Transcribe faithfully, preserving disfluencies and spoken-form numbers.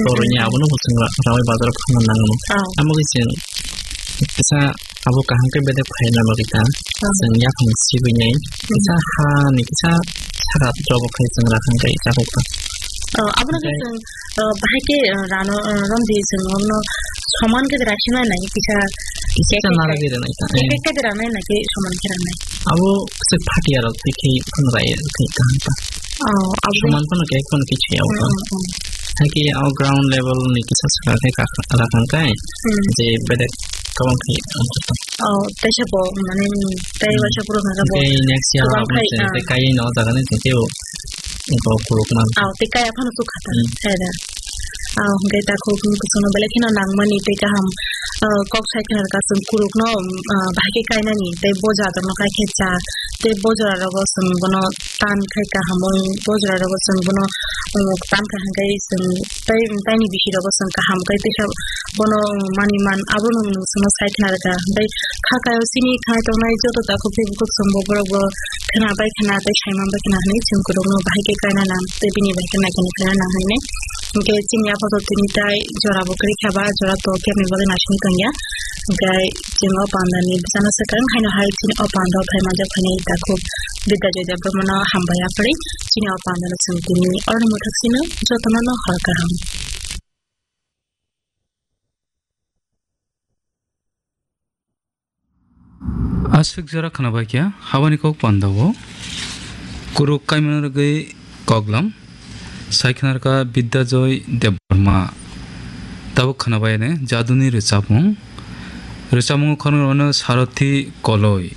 Toroni abono bo chwng ra-, rawai bazaro phanna nango. Oh. Amo khe chwng kisa abo kaham khe bedek phaina bagwi ta. Oh. Chwng yaphang sibwi nai. Hmm. Kisa ha ni kisa saka jobo khai chwng rakhang kai chakuk ta. Oh, abono khe chwng, oh, bahai khe, oh, rano, oh, romdi chwng ono soman khe rakhima nai kisa. Kisa nara khe ranai ta. Khe khe ranai na khe soman khe ranai. Abo se phatia rok tikhi phano rai khai kaham ta. Oh, abo. Soman phano khe phano kichwi ya. Hmm, hmm, hmm. Haikhe o ground level ni kisa saka khe ka-, rakhang kai. Hmm. Je bedek kabang khe wngkha. Oh, tei se bo, mane, tei waisa puro kha bo. Tei next year kwbang abo khai, se ah, tei kaiwi no jaga ni tei o, o kuruk man. Oh, tei kaya phano sukha ta. Hmm. Sai da. Oh, hwnkhe ta khuk kusungno belai kheno nangmani tei kaham, ah, kok sai khna rwkha chwng kurukno, ah, bahai khe kainani tei bo jora rokno kai khe cha tei bo jora rogo chwng bono tan khai kaham wng bo jora rogo chwng bono, um, tan khai hwnkhe chwng tei, um, taini bisi rogo chwng kaham khai teisa bono, um, mani man abono nwng chwngno sai khna rwkha. Tei kha kaio chini khai tongnai joto takhuk tei bukhuk chwng bo borok bo khna bai khna tei sai man bai khna hwnwi chwng kwrwngno bahai khe kaina nang tei bini bai khe naikhe naikhe nang hwnwi. Hwnkhe chini apato tini tai jora bo kwrwi kha ba jora to kebni bagwi naisingwi tongya. Hwnkhe chwng o pandani bwsano swkang haino hai chini o pandao phai manjak phainai takhuk Bidya Joy Debbarmano hambai yapharwi chini o pandano chwng tini oroni mwthak sino jotono no hor kaham. Aswk jora khwnabaikha habani kok pandao. Kuruk kaimano rwgwi koklam. Sai khwnarwkha Bidya Joy Debbarma. Tabuk khwnabaiyani jaduni rwchapmung. Rwchapmungo khoroknwi rwno Sarathi Koloi.